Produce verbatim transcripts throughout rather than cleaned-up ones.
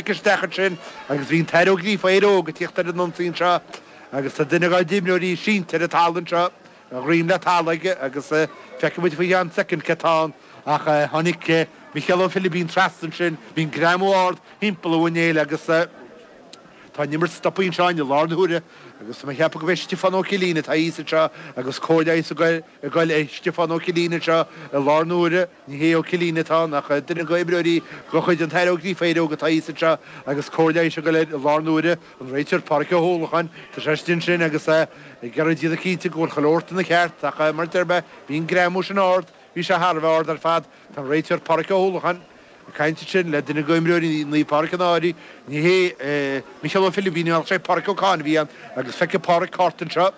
cic isteach ansin agus bhí an tAire Ó Gríofa Éire Óg ag tíocht ar an ionsaí anseo agus tá duine dá d'imreoirí sínte ar an talamh anseo a dhroim le talamh aige agus feicfidh muid faoi cheann soicind cé atá ann ach tháinig Micheál Ó Philibín trasna ansin, bhí an greamú ard thimpeall a mhuinéil agus tá an imirt stoptha anseo i lár na huaire agus tá mé ag ceapadh go bhfeicfidh Stiofán Ó Cillín atá thíos anseo agus comhairle leighis ag goil ag Stiofán Ó Cillín anseo i lár na huaire. Ní hé Ó Cillín atá ann ach duine de imreoirí de chuid an tAire Ó Gríofa Éire Óg atá thíos anseo agus comhairle leighis ag goil air i lár na huaire. An réiteoir Pádraic Ó hUallacháin, tá sé istigh ansin agus é ag iarraidh déanamh cinnte go bhfuil chuile shórt ina cheart ach mar a deir mé, bhí an greamú sin ard, bhí sé thar a bheith ard ar fad. Tá an réiteoir Pádraic Ó hUallacháin ag caint ansin le duine de imreoirí Naomh Pádraig an Fhairche, ní hé Micheál Ó Philibín ach sé Pádraic Ó Cadhain a bhí ann agus feicfidh Pádraic cárta anseo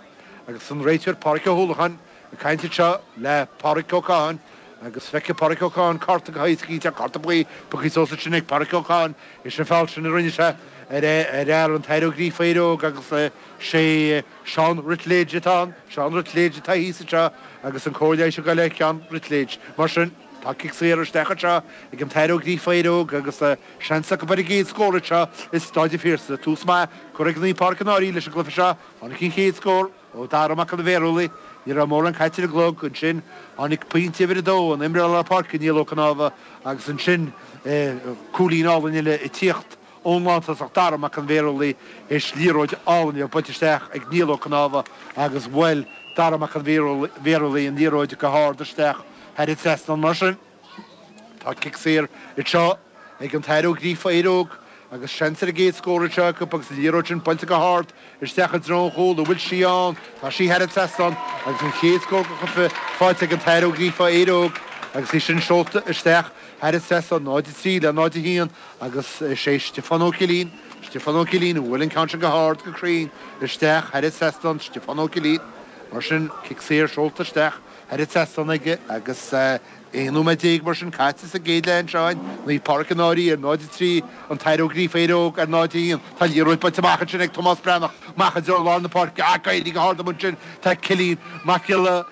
agus an réiteoir Pádraic Ó hUallacháin ag caint anseo le Pádraic Ó Cadhain agus feicfidh Pádraic Ó Cadhain cárta go héasca, cinnte, cárta buí pioctha suas ansin ag Pádraic Ó Cadhain, is an feall sin a rinne sé ar fhear an tAire Ó Gríofa Éire Óg agus sé Seán Ruitlidge atá ann, Seán Ruitlidge atá thíos anseo agus an comhairle leighis ag goil ar Sheán Ruitlidge. Mar sin, tá cic saor isteach anseo ag an tAire Ó Gríofa Éire Óg agus seans acu ar an gcéad scór anseo i Stáid an Phiarsaigh. Tús maith curtha ag Naomh Pádraig an Fhairche leis an gcluiche seo. Tháinig an chéad scór ó Dara Mac an Bhéarúlaigh. Ní raibh mórán caite ar an gclog ansin. Tháinig pointe uimhir a dó ón imreoir lár páirce Niall Ó Cnámha agus ansin cúilín álainn eile ag tíocht ón lántosach Dara Mac an Bhéarúlaigh théis liathróid álainn a bhuailt isteach ag Niall Ó Cnámha agus bhuail Dara Mac an Bhéarúlaigh an liathróid go hard isteach thar an trasnán. Mar sin, tá cic saor anseo ag an tAire Ó Gríofa Éire Óg agus seans ar an gcéad scór anseo acu agus an liathróid sin buailte go hard isteach i dtreo an chúil. An bhfuil sí ann? Tá sí thar an trasnán agus an chéad scór den chluiche faighte ag an tAire Ó Gríofa Éire Óg agus í sin seolta isteach thar an trasnán, náid a trí le náid a haon agus is é Stiofán Ó Cillín, Stiofán Ó Cillín a bhuail an ceann sin go hard go cruinn isteach thar an trasnán, Stiofán Ó Cillín. Mar sin, cic saor seolta isteach thar an trasnán aige agus aon nóiméad déag mar sin caite sa gcéad leath anseo againn, Naomh Pádraig an Fhairche ar náid a trí, an tAire Ó Gríofa Éire Óg ar náid a haon. Tá liathróid buailte amach ansin ag Tomás Breathnach, amach i dtreo lár na páirce ach éirí go hard amuigh ansin. Tá Cillian Mac Giolla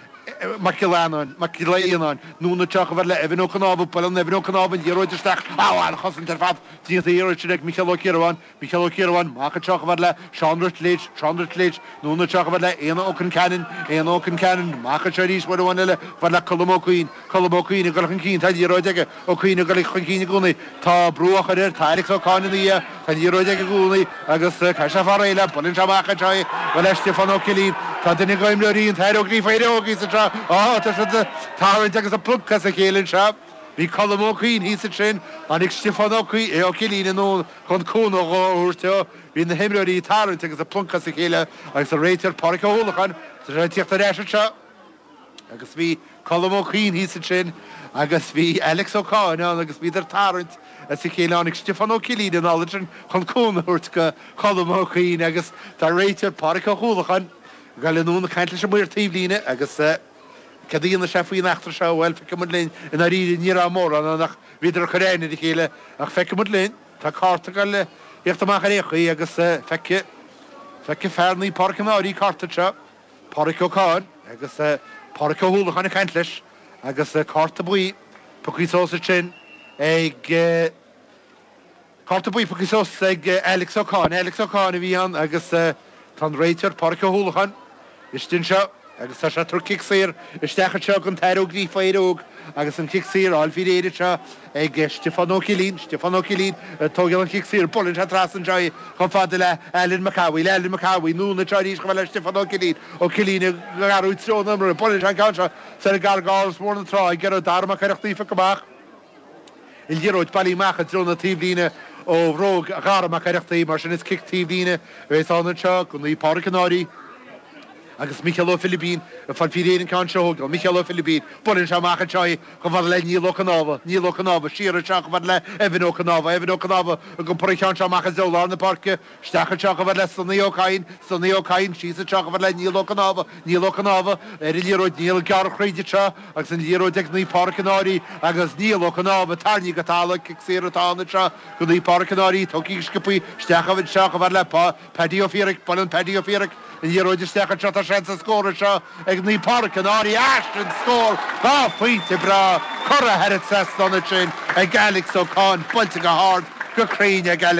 Mac Giolla Eanáin, Mac Giolla Fhíonáin, anonn anseo chomh fada le Evan Ó Cnámha, buaileann Evan Ó Cnámha an liathróid isteach, á, an-chosaint ar fad déanta iarraidh sin ag Micheál Ó Ciarabháin, Micheál Ó Ciarabháin, amach anseo chomh fada le Seán Ruitlidge, Seán Ruitlidge, anonn anseo chomh fada le Éanna Ó Conceanainn, Éanna Ó Conceanainn, amach anseo arís uair amháin eile, chomh fada le Colm Ó Cuinn, Colm Ó Cuinn ag dul chun cinn, tá an liathróid aige, Ó Cuinn ag dul chun cinn i gcónaí, tá brú á chur air, tá Alex Ó Cadhain ina dhiaidh, tá an liathróid aige i gcónaí agus caithfidh sé fáil réidh léi, buaileann sé amach anseo í, bhuel le Stiofán Ó Cillín, tá duine d'imreoirí an tAire Ó Gríofa Éire Óg thíos anseo, á, tá siad ag tarraingt agus ag pluncadh as a chéile anseo. Bhí Colm Ó Cuinn thíos ansin, tháinig Stiofán Ó Cillín anonn chun cúnamh a thabhairt dó. Bhí na himreoirí ag tarraingt agus ag pluncadh as a chéile agus an réiteoir Pádraic Ó hUallacháin, tá sé ag tíocht ar ais anseo agus bhí Colm Ó Cuinn thíos ansin agus bhí Alex Ó Cadhain ann agus bhíodar ag tarraingt as a chéile. Tháinig Stiofán Ó Cillín anall ansin chun cúnamh a thabhairt do Cholm Ó Cuinn agus tá an réiteoir Pádraic Ó hUallacháin ag dul anonn ag caint leis an maor taobhlíne agus céard a dhéanfaidh sé faoin eachtra seo? Bhuel, feicfidh muid linn. I ndáiríre, ní raibh mórán ann ach bhíodar ag cur aithne ar a chéile. Ach feicfidh muid linn. Tá cárta ag dul a thíocht amach ar aon chaoi agus feicfidh, feicfidh fear Naomh Pádraig an Fhairche cárta anseo, Pádraic Ó Cadhain, agus Pádraic Ó hUallacháin ag caint leis agus cárta buí pioctha suas ansin ag, Cárta buí pioctha suas ag Alex Ó Cadhain. Alex Ó Cadhain a bhí ann agus tá an réiteoir Pádraic Ó hUallacháin istigh anseo agus tá sé ag tabhairt cic saor isteach anseo don tAire Ó Gríofa Éire Óg agus an cic saor á fháil faoi réir anseo ag Stiofán Ó Cillín. Stiofán Ó Cillín ag tógáil an chic saor. Buaileann sé trasna anseo í chomh fada le Alan McAvoy. Alan McAvoy anonn anseo arís chomh fada le Stiofán Ó Cillín. Ó Cillín ag athrú treo na himeartha. Buaileann sé an ceann seo soir gar d'Áras Mór na Trá ag iarraidh Dara Mac Oireachtaigh a phiocadh amach. An liathróid bailithe amach i dtreo na taobhlíne ó bhróg Dhara Mac Oireachtaigh, mar sin is cic taobhlíne a bheas ann anseo do Naomh Pádraig an Fhairche agus Micheál Ó Philibín ag fáil faoi réir an ceann seo a thógáil. Micheál Ó Philibín, buaileann sé amach anseo í chomh fada le Niall Ó Cnámha, Niall Ó Cnámha, siar anseo chomh fada le Evan Ó Cnámha, Evan Ó Cnámha ag iompar an cheann seo amach i dtreo lár na páirce, Isteach anseo chomh fada le Sonny Ó Cadhain, Sonny Ó Cadhain, síos anseo chomh fada le Niall Ó Cnámha, Niall Ó Cnámha, ar an liathróid, Niall ag gearradh thríd anseo agus an liathróid ag Naomh Pádraig an Fhairche agus Niall Ó Cnámha tarraingthe go talamh, cic saor atá ann anseo do Naomh Pádraig an Fhairche, tógtha go sciobthaí isteach anseo chomh fada le Paddy Ó Fiaraic, buaileann Paddy Ó Fiaraic an liathróid isteach anseo, tá seans ar scór anseo ag Naomh Pádraig an Fhairche, sin scór, dhá phointe breá curtha thar an trasnán ansin ag Alex Ó Cadhain, buailte go hard, go cruinn ag Alex.